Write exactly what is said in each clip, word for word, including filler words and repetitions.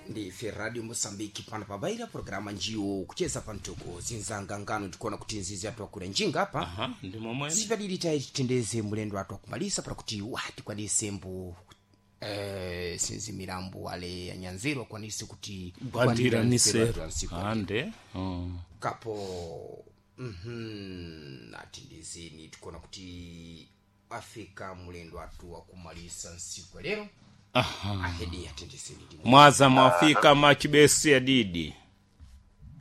Ndife Radio Mosambiki pano pabaira programa njiwo kucheza pamtoko zinzanga ngano tikuona kuti nzizi atu akula njinga apa. Aha, ndi momwene. Sipadili tayi titendeze mulendo atu akumalisa para kuti watikwanise mbu eh, sinzi milambo wale anyanziro akwanise kuti Gwandira nseru nisero ansiku ande mm. kapo mhm atindizeni tikuona kuti afika mulendo atu akumalisa nsiku lero. Aha. Ahedi atendezeni ndimo. Mwaza mwafika machibesi adidi.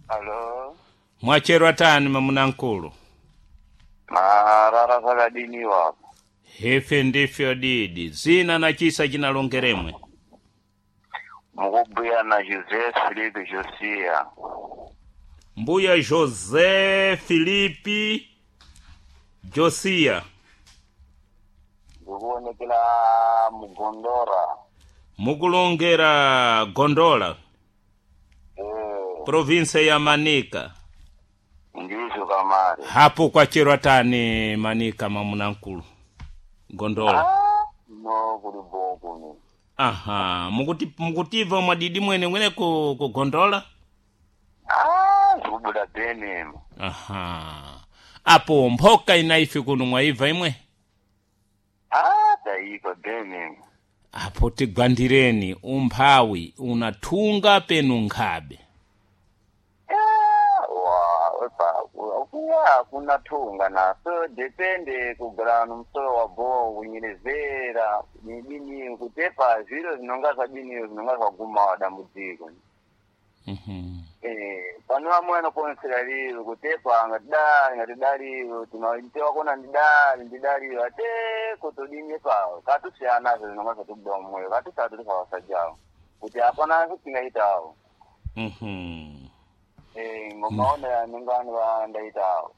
Alo, Mwacherwa tani mamunankulu? marara zvakadini wapo? Hefe ndifyo adidi zina na chisa chinalongeremwe. Mukubhuya na José Felipe Josia. Mbuya José Filipi Josia. Ndikuonekera mugondora. Mukulongera Gondola, Eh, provinsia ya Manika. ndizvo kamari. Hapo kwacherwa tani Manika mamunankulu? Gondola. Ah, no kuri bho kuno. Aha, mukuti mukutiva mwadidi mwene mwene ku, ku Gondola. Ah, zvikubuda bheni. Aha, apo mphoka inaife kuno mwaiva imwe? Ah, taipa bheni. Apo tigwandireni umphawi unathunga penu nkhabe. Ah, wa, opa, kuya kuna thunga naso depende kugara nomusoro wa bho kunyerezera nidini kutepa zviro zvinonga zvadiniyo zvinonga zvaguma dambudziko. Mhm. Eh, pano vamwe vanokonesera riro kutepa ngatidari ngatidariyo tinoitewa kona ndidari ndidariyo ate kutodinye pawo katusiyana-zvo zvinonga zvatobuda mumwoyo katusati tisavasajawo kuti hapana kutingaitawo. Mhm. Eh, ngomaonero anenge anovandaitawo.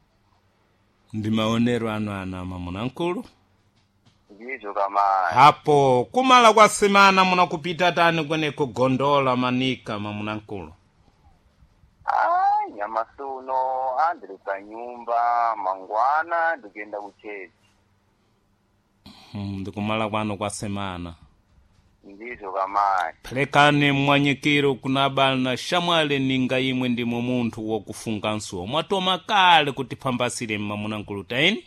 Ndi maonero anu ana mamunankulu. Ndizvo kamai. Hapo kumala kwa semana munakupita tani kwene kugondola Manika mamunankulu? Ai, nyamasi uno andiri panyumba mangwana ndikuenda kuchechi. Mm, ndikumala kwanu kwa semana. Ndizvo kamai. Phelekani mwanyikiro kuna bana shamwale ninga imwe ndimwe munthu wokufunga nsuwo mwatoma kale kuti phambasire mamunankulu taini.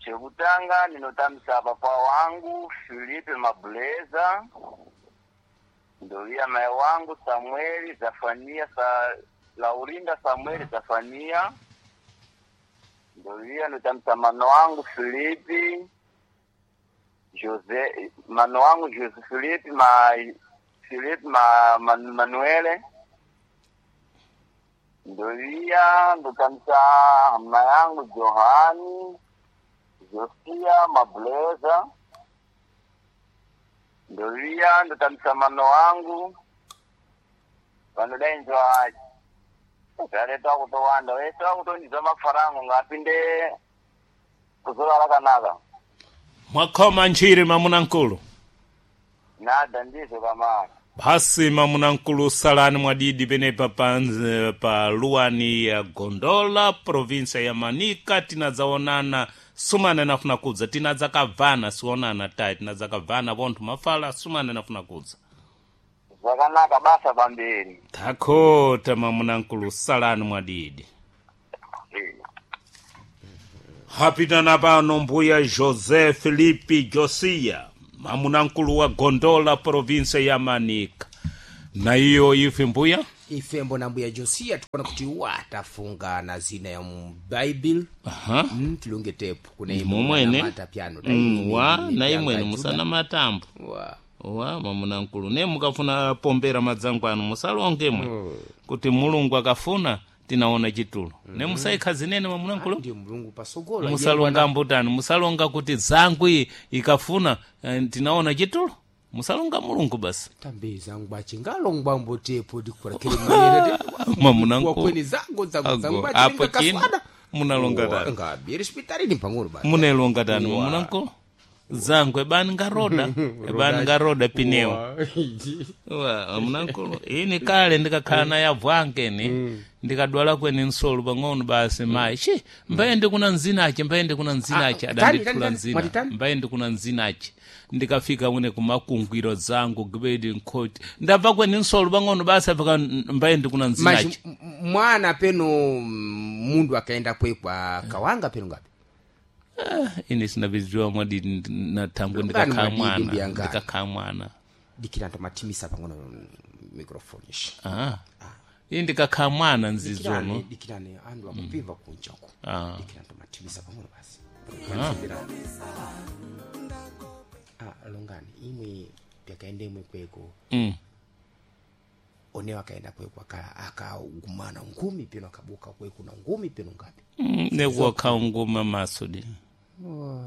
Chekutanga ndinotambisa papa wangu Filipe Mabuleza, ndoviya mai wangu Samueli Zafania sa Laurinda Samueli Zafania, ndoviya ndotambisa mano wangu Filipi Jose, mano wangu Jose Filipe ma Filipe ma, Man, Manuele, ndoviya ndotambisa hama yangu Johani Josia Mabuleza, ndoviya ndotambisa mano wangu vanodainzwa zvareta kutowanda vese vakutondidza mafarango ngapinde kuzuva rakanaka. Mwakhoma ntchire mamunankulu. Nada, ndizvo kamari. Basi mamunankulu salani mwadidi penepa pa, pa luwani ya Gondola provinsia ya Manika. Tinadzaonana sumana nafuna kudza tinadzakabvana sionana tayi tinadzakabvana vonthu mafala sumana nafuna kudza. Zvakanaka basa pamberi. Takhota mamunankulu salani mwadidi. Eh. Hapitana pano mbuya José Felipe Josia mamunankulu wa Gondola provinsia ya Manika. Na iyo ife mbuya Ifembo na mbuya Josia tikuona kuti watafunga na zina ya mubaibil. Aha. Mm, tilunge tepu kuna imwe Momwene. mata piano Mm, wa na imwene musana matambo wa wa mamunankulu ne mukafuna pombera madzangu anu musalongemwe kuti Mulungu akafuna tinaona chitulo ne musaikha zinene mamunankulu. Ndiyo Mulungu pasogola. Musalonga mbutani musalonga kuti zangu iyi ikafuna eh, tinaona chitulo musalonga Mulungu basi. Tambe zangu achingalongwa mbotepo ndikurakele manera Mamunankulu. wakweni zangu zangu Ago, zangu apo chino munalonga tani? Ngabi respetari ni pang'ono basi. Munelonga tani Wa. mamunankulu? Zangu ebani ngaroda, ebani ngaroda pineo. Wa, mnankulu ini kale ndikakhala naye abwangeni, ndikadwala kweni nsolo pang'ono basi mayi chi mbaye ndikuna nzinache, mbaye ndikuna nzinache. Ah, tani, Adandithula tani, tani, nzina. mwati tani? Mbaye ndikuna nzinache, ndikafika mwene kumakungwiro zangu gibedi nkhoti ndabva kweni nsolo pang'ono basi afika mbaye ndikuna Mas nzinache. m- m- mwana peno mm, mundu akaenda kwekwa kawanga peno ngapi? Ine sinavidziwa mwadidi natangwe Lungani ndikakhala mwadidi mwana. mbiyangani. Ndikakhala mwana. Dikira ntomathimisa pang'ono microphone ishi. Ah. Ini ndikakhala mwana nzizono. Dikirane, dikirane andu akupiva kunja uko. Ah. Dikira ntomathimisa pang'ono basi. Ah, longani imwe pyakaenda imwe kweko. Mm. Onewa akaenda kweko aka- akagumana ngumi peno akabuka kweko na ngumi peno ngapi? Mm, nekuwakha nguma masudi.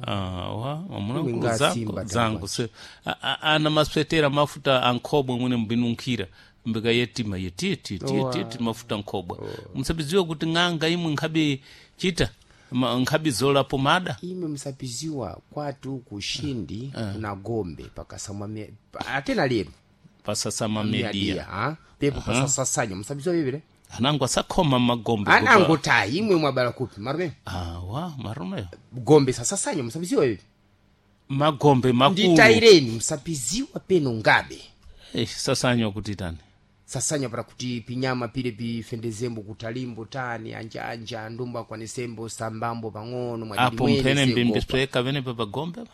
Ah, wa Imwe mwanangu nga zangu simba zangu se a- a- ana maswetera mafuta ankhobwe mwene mbinunkhira mbika yetima yetiti titi mafuta nkhobwe musabiziwe kuti ng'anga imwe nkhabi chita ma- nkhabi zola pomada. Imwe msapiziwa kwatu kushindi kuna gombe pakasamwa mie- pa- atena lero pasasama media. Media, ah? Pepo pasasasanya msapiziwa vivile. Anangu asakhoma magombe kupa- Anangotayi imwe mwabala kupi marume? Ah, wa marumeyo. Gombe sasasanya msapiziwa vivi. Magombe makulu. Nditaireni msapiziwa peno ngabe. Eh, sasanywa kuti tani? Sasanya para kuti pinyama pile pifendezembo kutalimbo tani anja anja ndumba akwanisembo sambambo pang'ono mwadidi Apo mwene mphene segopa. mbimbisweka venepa pagombe pa.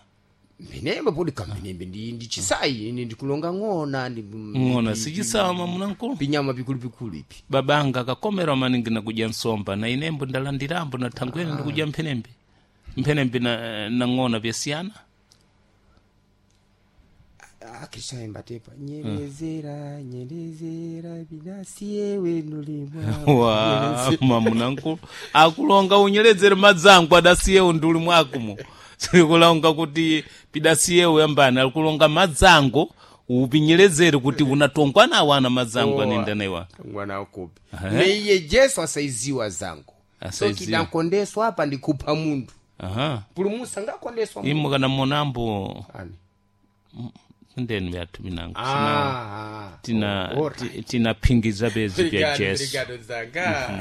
Mpenembe podi kampenembe ndi ndi chisayi ine ndikulonga ng'ona ndi Ng'ona sichisawa mamunankulu. Pinyama pikulu pikulu ipi. Babanga akakomerwa maningi nakudya nsomba na inembo ndalandirambo na thangwene ndikudya mphenembe, mphenembe na, na ng'ona vyasiyana. Akishaimba tepa nyerezera nyerezera binasiye wenu Wa mamunankulu akulonga unyerezere madzangu adasiyewo nduli mwakumo, sikulonga kuti pidasiyewo yambani, akulonga madzangu upinyerezere kuti unatongwa nawo ana madzangu anenda naiwa. Mwana wakupi neiye Jesu asaiziwa zangu so Asaiziwa. kidakondeswa apa ndikupa mundu. Aha. Pulumusa ngakondeswa mundu. Imwe kana monambo. Ani? Ndeni vyathu vinangu sina- Ah, tina alright. ti- tinaphingiza bezi vya Obrigado, Jesu. obrigado, Zanga.